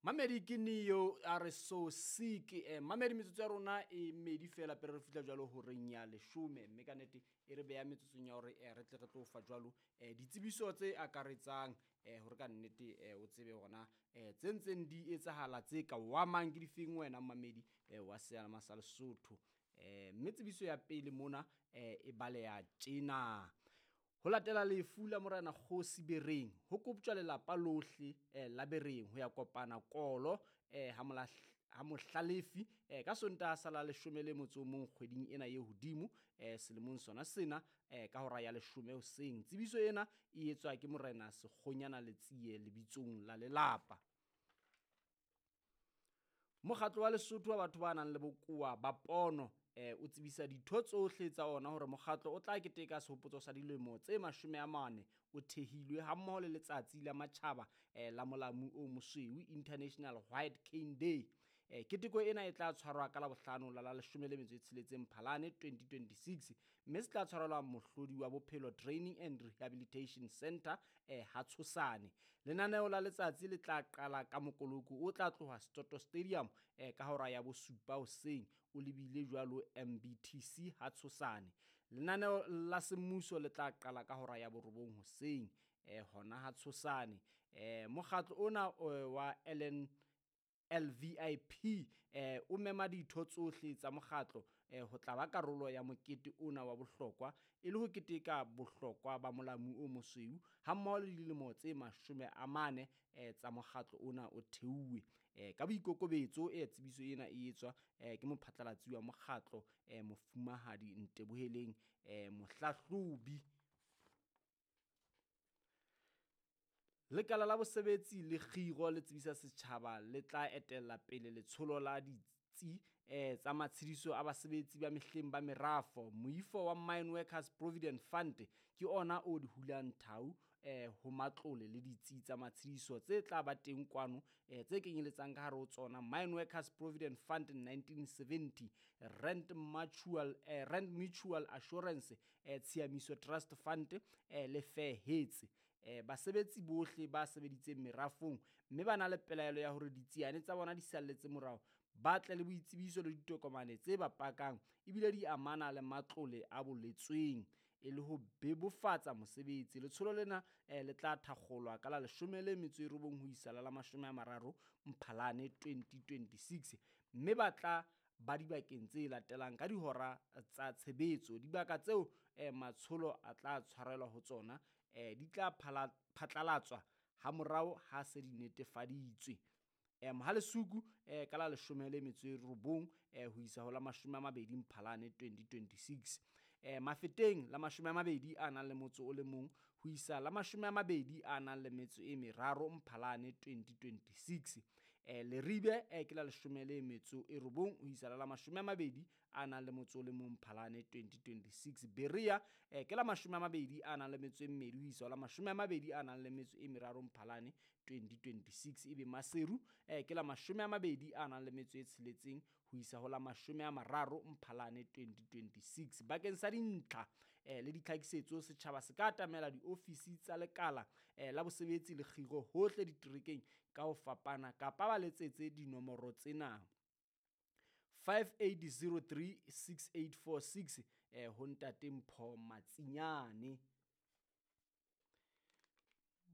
Mamedi ke Neo a re so sick. Mamedi, metsotso ya rona e medi fela pele re fihla jwalo horeng ya leshome, mme ka nnete e re beha metsotsong ya hore re tle re tlo fa jwalo ditsebiso tse akaretsang, hore ka nnete o tsebe hore na tse ntseng di etsahala tse ka o amang ke difeng wena mamedi wa seyalemoya sa Lesotho. Mme tsebiso ya pele mona e baleha tjena. Ho latela lefu la Morena Kgosi Bereng, ho koptjwa lelapa lohle la Bereng ho ya kopana kolo ha mohlalefi ka Sontaha sa la 11 kgweding ena e hodimo, selemong sona sena, ka hora ya 10 hoseng. Tsebiso ena e etswa ke Morena Sekgonyana Letsie lebitsong la lelapa. Mokgatlo wa Lesotho wa batho ba nang le bokowa ba pono o tsebisa ditho tsohle tsa ona hore mokgatlo o tla keteka sehopotso sa dilemo tse 40 o thehilwe, hammoho le letsatsi la matjhaba la molamu o mosweu, International White Cane Day. Keteko ena e tla tshwarwa ka Labohlano la 16 Mphalane 2026, mme se tla tshwarelwa Mohlodi wa Bophelo Training and Rehabilitation Center ha Tshosane. Lenaneo la letsatsi le tla qala ka mokoloko o tla tloha Setoto Stadium ka hora ya 7 hoseng o lebile jwalo MBTC ha Tshosane. Lenaneo la semmuso le tla qala ka hora ya 9 hoseng hona ha Tshosane. Mokgatlo ona wa LVIP o mema ditho tsohle tsa mokgatlo ho tla ba karolo ya mokete ona wa bohlokwa, e le ho keteka bohlokwa ba molamu o mosweu hammoho le dilemo tse 40 tsa mokgatlo ona o theuwe. Ka boikokobetso tsebiso ena e etswa ke mophatlalatsi wa mokgatlo, Mofumahadi Nteboheleng Mohlahlobi. Lekala la bosebetsi le kgiro le tsebisa setjhaba le tla etella pele letsholo la ditsi tsa matshediso a basebetsi ba mehleng ba merafo. Moifo wa Mine Workers Provident Fund ke ona o di hulang thau ho matlole le ditsi tsa matshediso tse tla ba teng kwano, tse kenyeletsang ka hare ho tsona Mine Workers Provident Fund 1970, Rent Mutual Assurance, Tshiamiso Trust Fund le Fairhetse. Basebetsi bohle ba sebeditseng merafong mme ba na le pelaelo ya hore ditsiane tsa bona di salletse morao, ba tle le boitsebiso le ditokomane tse ba pakang ebile di amana le matlole a boletsweng e le ho bebofatsa mosebetsi. Letsholo lena le tla thakgolwa ka la 19 ho isa la 30 Mphalane 2026, mme ba tla ba dibakeng tse latelang ka dihora tsa tshebetso. Dibaka tseo matsholo a tla tshwarelwa ho tsona di tla phatlalatswa hamorao ha se di netefaditswe. Mohalesuku ka la 19 ho isa ho la 20 Mphalane 2026. Mafeteng la 21 ho isa la 23 Mphalane 2026. Leribe ke la 19 ho isa la 21 Mphalane 2026. Berea ke la 22 ho isa la 23 Mphalane 2026. Ebe Maseru ke la 26 ho isa ho la 30 Mphalane 2026. Bakeng sa dintlha le ditlhakisetso, setjhaba se ka atamela diofisi tsa lekala la bosebetsi le kgiro hohle diterekeng ka ho fapana, kapa ba letsetse dinomoro tsena 5803 6846 ho Ntate Mpho Matsinyane.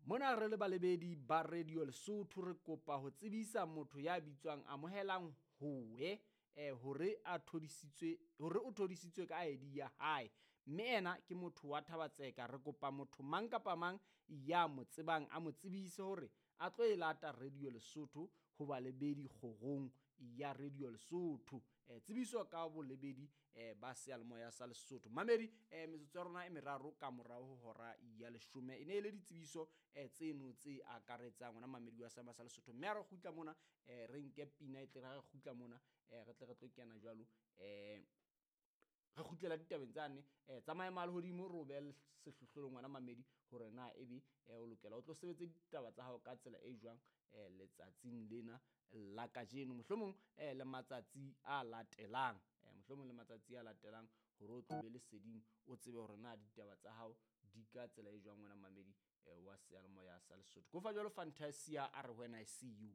Mona re le balebedi ba Radio Lesotho re kopa ho tsebisa motho ya bitswang Amohelang Howe hore o thodisitswe ka ID ya hae, mme ena ke motho wa Thabatseka. Re kopa motho mang kapa mang ya mo tsebang a mo tsebise hore a tlo e lata Radio Lesotho ho balebedi kgorong ya Radio Lesotho. Tsebiso ka bolebedi ba seyalemoya sa Lesotho. Mamedi, metsotso ya rona e meraro ka morao ho hora ya 10 e ne e le ditsebiso tseno tse akaretsang wena mamedi wa seyalemoya sa Lesotho. Mme ha re kgutla mona re nke pina e tle re kgutla mona re tle re tlo kena jwalo re kgutlela ditabeng tsane tsa maemo a lehodimo, re o behe sehlohlolong wena mamedi hore na ebe o lokela o tlo sebetse ditaba tsa hao ka tsela e jwang letsatsing lena la kajeno, mohlomong le matsatsi a latelang, mohlomong le matsatsi a latelang hore o tlo be leseding, o tsebe hore na ditaba tsa hao di ka tsela e jwang wena mamedi wa seyalemoya sa Lesotho. Kofa jwalo Fantasia a re when I see you.